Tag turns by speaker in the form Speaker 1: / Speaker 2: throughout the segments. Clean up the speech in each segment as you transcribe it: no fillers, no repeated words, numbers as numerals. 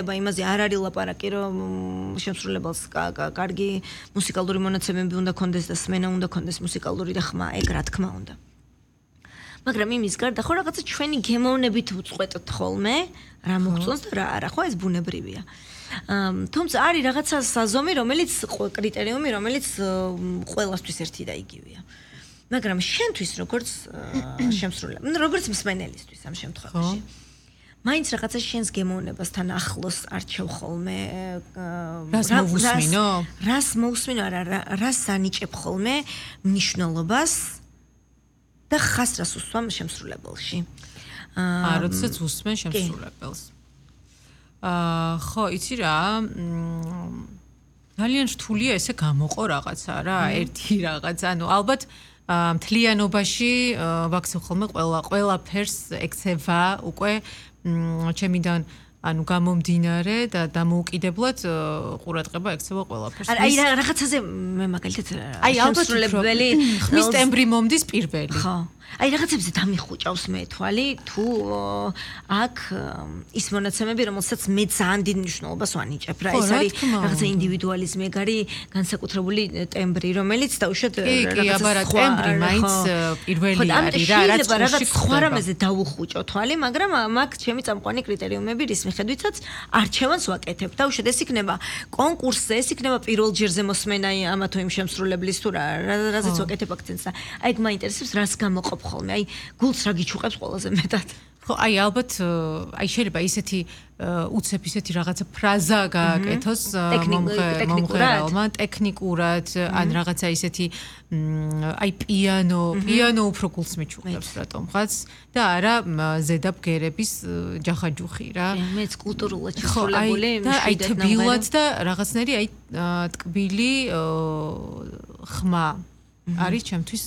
Speaker 1: იმაზე არ არის ლაპარაკი, რომ შემსრულებელს კარგი მუსიკალური მონაცემები უნდა კონდეს და სმენა უნდა კონდეს მუსიკალური და ხმა, ეგ რა თქმა უნდა. მაგრამ იმის გარდა ხო რაღაცა ჩვენი გემოვნებით უწყვეტთ ხოლმე, რა მოგწონს და რა არა, ხო ეს ბუნებრივია. თუმცა არის რაღაცა საზომი, რომელიც კრიტერიუმი, რომელიც ყველასთვის ერთი და იგივეა. მაგრამ შენთვის როგორც შემსრულებელი, როგორც მსმენელისთვის ამ შემთხვევაში. მაინც რაღაცა შენს გემოვნებასთან ახლოს არჩევ ხოლმე რას მოусმინო არა რას ანიჭებ ხოლმე მნიშვნელობას და ხას რას უსვამ შემსრულებელში
Speaker 2: როდესაც უსმენ შემსრულებელს ხო იცი რა ძალიან რთულია ესე გამოყო რაღაცა რა ერთი რაღაც ანუ ალბათ მთლიანობაში ვაქცევ ხოლმე ყველაფერს ექცევა უკვე ჩემიდან ანუ გამომდინარე და დამოუკიდებლად ყურადღება ექცევა ყველაფერს.
Speaker 1: აი რაღაცაზე მე მაგალითად
Speaker 2: შემსრულებელი ხმის ტემბრი მომდის პირველი.
Speaker 1: ხო. აი რაღაცებზე დამიხუჭავს მე თვალი თუ აქ ის მონაცემები რომელსაც მე ძალიან დიდ მნიშვნელობას ვანიჭებ რა ეს არის რაღაცა ინდივიდუალიზმი ეგ არის განსაკუთრებული ტემბრი რომელიც დაუშვათ
Speaker 2: რაღაცა ტემბრი მაინც პირველი არის რა
Speaker 1: რაღაც სხვა რამეზე დავუხუჭო თვალი მაგრამ მაგ ჩემი წამყვანი კრიტერიუმები რის მიხედვითაც არჩევანს ვაკეთებ დაუშვათ ეს იქნება კონკურსზე ეს იქნება პირველ ჯერზე მოსმენა ამა თუ იმ შემსრულებლის თუ რაზეც ვაკეთებ აქცენტს და აი მაინტერესებს რას გამოყოფ ხოლმე აი გულს რა გიჩუყებს ყველაზე მეტად
Speaker 2: ხო აი albათ აი შეიძლება ისეთი უცებ ისეთი რაღაცა ფრაზა გააკეთოს მომღერალმა ტექნიკურად ან რაღაცა ისეთი აი პიანო უფრო გულს მიჩუყებს რატომღაც და არა ზედა ბგერების ჯახაჯუხი რა
Speaker 1: მეც კულტურულად შესრულებული
Speaker 2: და აი თბილად და რაღაცნაირი აი ტკბილი ხმა არის ჩემთვის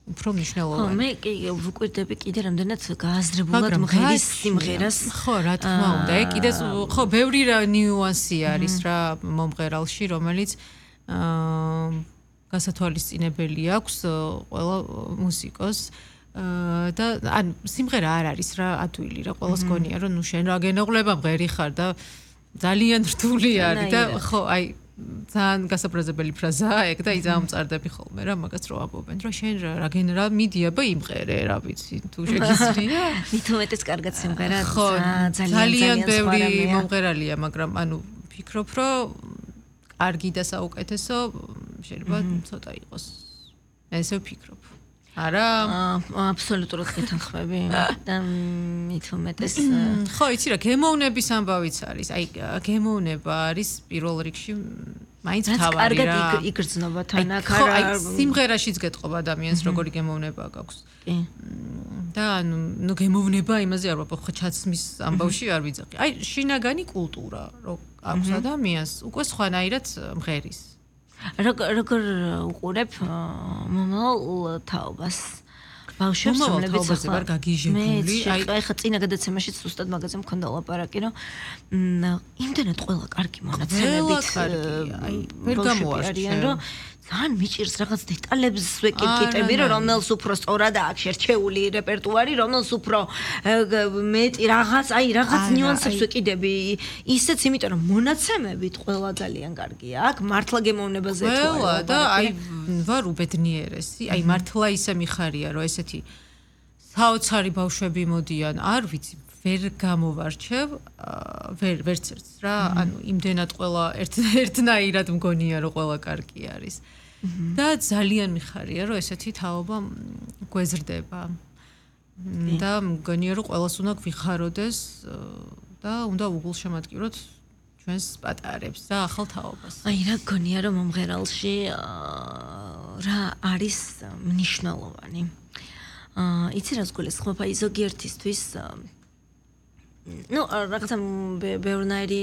Speaker 2: უფრო მნიშვნელოვანი.
Speaker 1: ხო, მე კი ვუკვირდები კიდე რამდენად გააზრებულად მღერის სიმღერას.
Speaker 2: ხო, რა თქმა უნდა. კიდე ხო, ბევრი ნიუანსი არის რა მომღერალში, რომელიც გასათვალისწინებელი აქვს ყველა მუსიკოს. და ან სიმღერა არ არის რა ადვილი რა ყველას გონია რომ ნუ შენ რა გენაღლება მღერი ხარ და ძალიან რთული არის და ხო, აი ძალიან გასაფრაზებელი ფრაზაა ეგ და ძალიან მწარდები ხოლმე რა მაგას რო ამბობენ რომ შენ რა გენერალ მიდიაბა იმღერე რა ვიცი თუ შეგიძლია
Speaker 1: მით უმეტეს კარგად სიმღერა
Speaker 2: ძალიან ბევრი მომღერალია მაგრამ ანუ ფიქრობ რომ კარგი და საუკეთესო შეიძლება ცოტა იყოს ესე ვფიქრობ არა
Speaker 1: აბსოლუტურად გეთანხმები და მით უმეტეს
Speaker 2: ხო იცი რა გემოვნების ამბავიც არის აი გემოვნება არის პირველ რიგში მაინც თავარი რა
Speaker 1: კარგად იგრძნობა თან აქ არა
Speaker 2: აი სიმღერაშიც გეტყობა ადამიანს როგორი გემოვნება გაქვს და ნუ გემოვნება იმაზე არ ვაპო ხო ჩაცმის ამბავში არ ვიძახი აი შინაგანი კულტურა რო აქვს ადამიანს უკვე სხვანაირად მღერის
Speaker 1: როგორ უყურებ მომავალ თაობას ბავშვებს რომლებიც
Speaker 2: ახლა გაგიჟებული
Speaker 1: აი ხა წინა გადაცემაში ზუსტად მაგაზე მქონდა ლაპარაკი რომ იმდენად ყველა კარგი მონაცემებით
Speaker 2: აი ვერ გამოარჩენ
Speaker 1: რომ ძალიან მიჭირს რაღაც დეტალებს ვეკითხები რომ რომელს უფრო სწორად აქვს შერჩეული რეპერტუარი რომელს უფრო მეტი რაღაც აი რაღაც ნიუანსებს ვეკიდები ისეც იმიტომ რომ მონაცემებით ყველა ძალიან კარგია აქ მართლა გემოვნებაზე თუ
Speaker 2: არა და აი ვარ უბედნიერესი აი მართლა ისე მიხარია რომ ესეთი საოცარი ბავშვები მოდიან არ ვიცი ვერ გამოვარჩევ ვერც ერთს რა ანუ იმდენად ყველა ერთნაირად მგონია რომ ყველა კარგი არის და ძალიან მიხარია რომ ესეთი თაობა გვეზრდება და მგონია რომ ყველას უნდა გვიხაროდეს და უნდა უგულშემატკივროთ ჩვენს პატარებს და ახალ თაობას
Speaker 1: აი რა გონია რომ მომღერალში რა არის მნიშვნელოვანი იცი რას გულისხმობ აი ზოგიერთისთვის ну, რაღაცა ბევრნაირი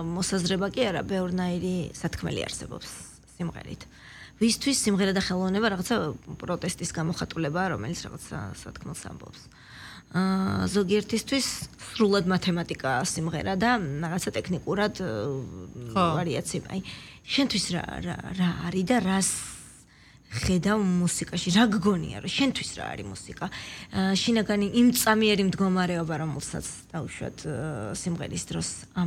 Speaker 1: მოსაზრება კი არა, ბევრნაირი სათქმელი არსებობს სიმღერით. ვისთვის სიმღერა და ხელოვნება რაღაცა პროტესტის გამოხატულებაა, რომელიც რაღაცა სათქმელს ამბობს. ზოგიერთისთვის სრულად მათემატიკაა სიმღერა და რაღაცა ტექნიკურად ვარიაცია. აი, შენთვის რა არის და ხედავ მუსიკაში, რა გგონია, რომ შენთვის რა არის მუსიკა? შინაგანი იმ წამიერი მდგომარეობა, რომელსაც დავუშვათ სიმღერის დროს